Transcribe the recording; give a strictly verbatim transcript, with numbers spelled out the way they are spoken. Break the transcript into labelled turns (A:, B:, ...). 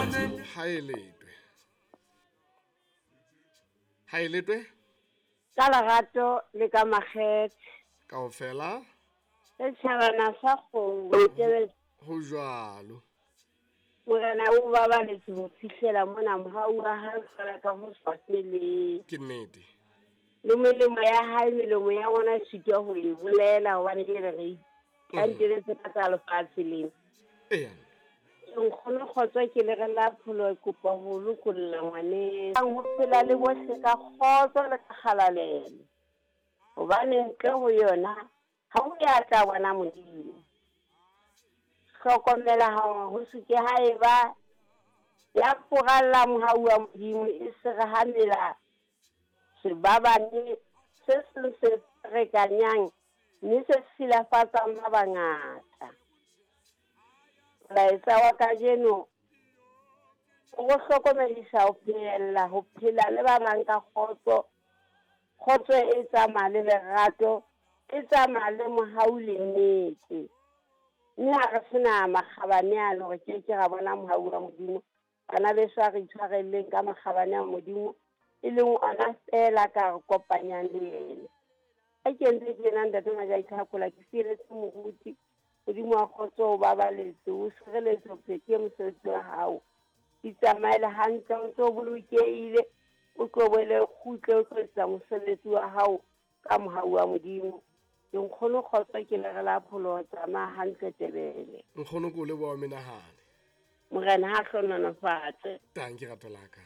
A: Ha e letwe. Ha e letwe?
B: Ka lerato le ka makgethe.
A: Kaofela.
B: Setjhabana sa kgomo tebele.
A: Ho jwalo.
B: Morena o babaletse ho fihlela mona mohau wa hae fela ka ho sa feleng.
A: Ke nnete.
B: Le melemo ya hae, melomo ya rona e sitwa ho e bolela hobane ke re re kanteletse ka tsa lefatshe lena.
A: Eya.
B: Nkgono kgotso ke le re la pholo kopa ho lokolla ngwaneng. Ho phela le bohle ka kgotso le ka kgalalelo. Hobane ntle ho yona ha ho ya tla bona Modimo. Hlokomela hore ho se ke ha eba ya furalla mohau wa Modimo e se re ha mela sebabane se seng se ferekanyang mme se silafatsang ba bangata. Molaetsa wa kajeno o re hlokomedisa ho phehella ho phela le ba bang ka kgotso. Kgotso e tsamaya le lerato, e tsamaya le mohau le nnete. Mme ha re sena makgabane ano re ke ke ra bona mohau wa Modimo. Bana beso a re itshwarelleng ka makgabane a Modimo e leng ona feela ka re kopanyang le yena. Ha ke ntse tjena ntate Majaki Tlhakola ke fieletse moruti. Modimo wa kgotso o babaletse, o sireletse, o phethe mosebetsi wa hao. Itsamaele hantle, o ntso bolokehile, o tlo boele o kgutle, o tlo etsa mosebetsi wa hao ka mohau wa Modimo. Ke nkgono kgotso ke le re la pholo tsamaya hantle Tebele.
A: Nkgono ke o leboha menahane.
B: Morena ha hlohonolofatse.
A: Tanki rato la ka.